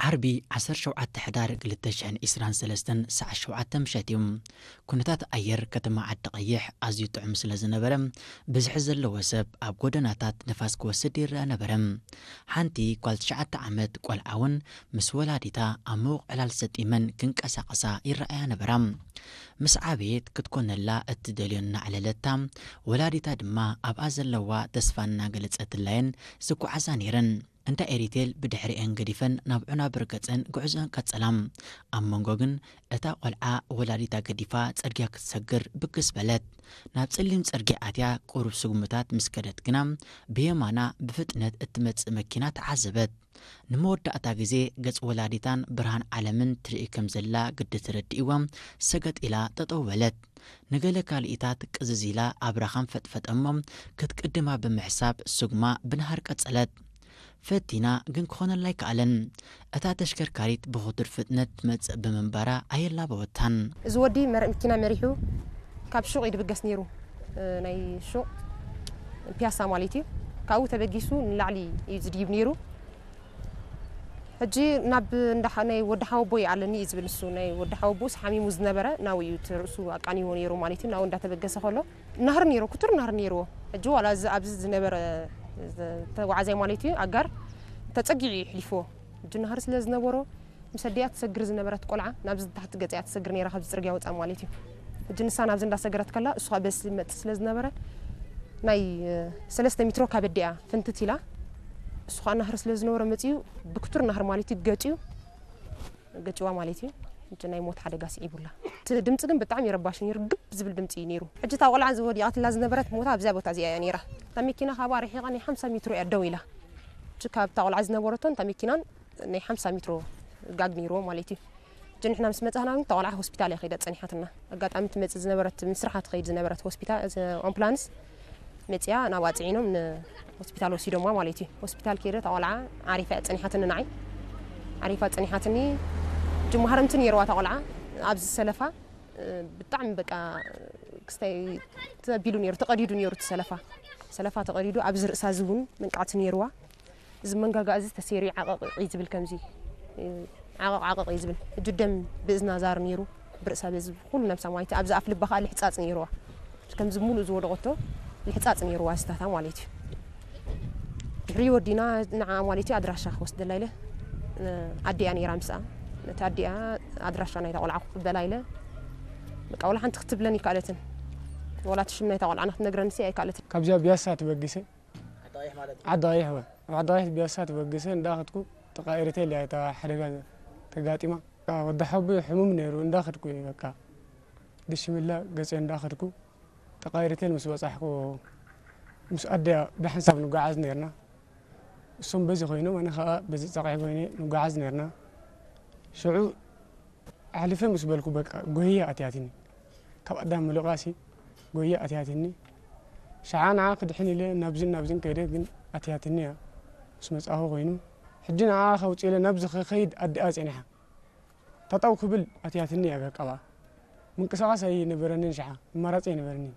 ዓርቢ ዓሰርተ ሸውዓተ ሕዳር ክልተ ሽሕን ዕስራን ሰለስተን ሰዓት ሸውዓተ ምሸት እዩ። ኩነታት ኣየር ከተማ ዓዲ ቀይሕ ኣዝዩ ጥዑም ስለ ዝነበረ፣ ብዝሒ ዘለዎ ሰብ ኣብ ጎደናታት ንፋስ ክወስድ ይረአ ነበረ። ሓንቲ ጓል ትሽዓተ ዓመት ቆልዓ እውን ምስ ወላዲታ ኣብ ምዉቕ ዕላል ሰጢመን ክንቀሳቐሳ ይረኣያ ነበራ። ምስ ዓበየት ክትኮነላ እትደልዮ እናዕለለታ፣ ወላዲታ ድማ ኣብኣ ዘለዋ ተስፋ እናገለጸትላየን ዝጓዓዛ ነይረን። እንዳ ኤሪቴል ብድሕሪኤን ገዲፈን ናብ ዑና ብርገጸን ጉዕዞኣን ቀጸላ። ኣብ መንጎ ግን እታ ቆልዓ ወላዲታ ገዲፋ ጽርግያ ክትሰግር ብግስ በለት። ናብ ጸሊም ጽርግያ ኣትያ ቁሩብ ስጉምታት ምስ ከደት ግና ብየማና ብፍጥነት እትመጽእ መኪና ተዓዘበት። ንመወዳእታ ግዜ ገጽ ወላዲታን ብርሃን ዓለምን ትርኢ ከም ዘላ ግዲ ተረዲእዋ ሰገጥ ኢላ ጠጠው በለት። ንገለ ካልኢታት ቅዝዝ ኢላ ኣብራኻን ፈጥፈጠ እሞ ክትቅድማ ብምሕሳብ ስጉማ ብናህር ቀጸለት። ፈቲና ግን ክኾነላ ኣይከኣለን። እታ ተሽከርካሪት ብኽቱር ፍጥነት ትመጽእ ብምንባራ ኣየላበወታን። እዚ ወዲ መረ-፣ መኪና መሪሑ ካብ ሹቕ እዩ ድብገስ ነይሩ። እ፣ ናይ ሹቕ ፒያሳ ማለት እዩ። ካብኡ ተበጊሱ ንላዕሊ እዩ ዝድይብ ነይሩ። ሕጂ ናብ እንዳ ሓ-፣ ናይ ወዲ ሓወቦይ ኣለኒ እዩ ዝብል ንሱ። ናይ ወዲ ሓወቦስ ሓሚሙ ዝነበረ ናብኡ እዩ እቲ ርእሱ ኣቃኒዎ ነይሩ ማለት እዩ። ናብኡ እንዳተበገሰ ከሎ ናህሪ ነይሩ፣ ክቱር ናህሪ ነይርዎ። ሕጂ ዋላ እዚ ኣብዚ ዝነበረ ተጓዓዛይ ማለት እዩ ኣጋር ተጸጊዑ እዩ ሕሊፍዎ። ሕጂ ናህሪ ስለ ዝነበሮ ምስ ኣዲኣ ትሰግር ዝነበረት ቆልዓ ናብዚ ታሕቲ ገጺኣ ትሰግር ነይራ ካብዚ ጽርግያ ወጻ ማለት እዩ። ሕጂ ንሳ ናብዚ እንዳሰገረት ከላ እሱ ኸኣ በዚ ይመጽእ ስለ ዝነበረ ናይ፣ እ፣ ሰለስተ ሜትሮ ካብ ኣዲኣ ፍንትት ኢላ እሱ ኸኣ ናህሪ ስለ ዝነበሮ መጺኡ ብክቱር ናህሪ ማለት እዩ ገጭዩ ገጭዋ ማለት እዩ። ሕጂ ናይ ሞት ሓደጋ ስዒቡላ። እቲ ድምጺ ግን ብጣዕሚ ረባሺ ነይሩ፣ ግብ ዝብል ድምጺ እዩ ነይሩ። ሕጂ እታ ቆልዓ እዚ ወዲቓትላ ዝነበረት ቦታ ኣብዚኣ ቦታ እዚኣ እያ ነይራ። እታ መኪና ካብኣ ርሒቓ ናይ ሓምሳ ሜትሮ እያ ደው ኢላ። ሕጂ ካብታ ቆልዓ ዝነበረቶን እታ መኪናን ናይ ሓምሳ ሜትሮ ጋግ ነይርዎ ማለት እዩ። ሕጂ ንሕና ምስ መጻእና ግን እታ ቆልዓ ሆስፒታል እያ ከይዳ ጸኒሓትና። ኣጋጣሚ ትመጽእ ዝነበረት፣ ምስራሓ ትኸይድ ዝነበረት ሆስፒታል፣ እዚ ኣምቡላንስ መጺኣ ናብኣ ጽዒኖም ንሆስፒታል ወሲዶምዋ ማለት እዩ። ሆስፒታል ከይደ እታ ቆልዓ ዓሪፋ እያ ጸኒሓትኒ ንዓይ። ዓሪፋ ጸኒሓትኒ። ሕጂ ማህረምቲ ነይርዋ እታ ቆልዓ ኣብዚ ሰለፋ፣ እ፣ ብጣዕሚ በቃ ክስታይ ተቢሉ ነይሩ፣ ተቐዲዱ ነይሩ እቲ ሰለፋ። ሰለፋ ተቐዲዱ፣ ኣብዚ ርእሳ እዚ እውን መንቃዕቲ ነይርዋ። እዚ መንጋጋ እዚ ተሰይሩ ዓቐቕ እዩ ዝብል ከምዚ፣ እ፣ ዓቐቕ ዓቐቕ እዩ ዝብል። ሕጂ ደም ብእዝና ዛር ነይሩ፣ ብርእሳ በዚ ኩሉ ነብሳ ማለት እዩ። ኣብዚ ኣፍ ልባ ከኣ ልሕጻጽ ነይርዋ። ከምዚ ሙሉእ ዝወደቐቶ ልሕጻጽ ነይርዋ ዝታታ ማለት እዩ። ድሕሪ ወዲና ንዓ ማለት እዩ ኣድራሻ ክወስደላ ኢለ፣ እ፣ ኣዲኣ ነይራ ምስኣ። ነቲ ኣዲኣ ኣድራሻ ናይታ ቆልዓ ክቕበላ ኢለ፣ በቃ ወላ ሓንቲ ክትብለኒ ኣይከኣለትን። ወላ እቲ ሽም ናይታ ቆልዓ ንክትነግረንሲ ኣይከኣለትን። ካብዚኣ ቢያሳ ተበጊሰ ዓዲ ቀይሕ ማለት እዩ። ዓዲ ቀይሕ ወ-፣ ኣብ ዓዲ ቀይሕ ቢያሳ ተበጊሰ እንዳኸድኩ ተቃይርተ ኢለ እያ እታ ሓደጋ ተጋጢማ። ወዲ ሓወቦይ ሕሙም ነይሩ እንዳኸድኩ እዩ በቃ ድሽምላ ገጸ እንዳኸድኩ ተቃይርተ ምስ በጻሕኩ ምስ ኣደያ ብሓንሳብ ንጓዓዝ ነይርና። እሶም በዚ ኮይኖም ኣነ ከኣ በዚ ጸቕዒ ኮይነ ንጓዓዝ ነይርና። ሽዑ ኣሕሊፈ ምስ በልኩ በቃ ጎየ ኣትያትኒ። ካብ ኣዳም ምልቓሲ ጎየ ኣትያትኒ። ሸዓ ንዓ ክድሕን ኢለ ናብዝን ናብዝን ከይደ ግን ኣትያትኒ እያ። ምስ መጻኹ ኮይኑ ሕጂ ንዓ ከውጽእ ኢለ ናብዚ ክኸይድ ኣዲኣ ጸኒሓ። ጠጠው ክብል ኣትያትኒ እያ በቃ ብኣ። ምንቅስቓስ ኣይነበረንን ሸዓ፣ ኣማራጺ ኣይነበረንን።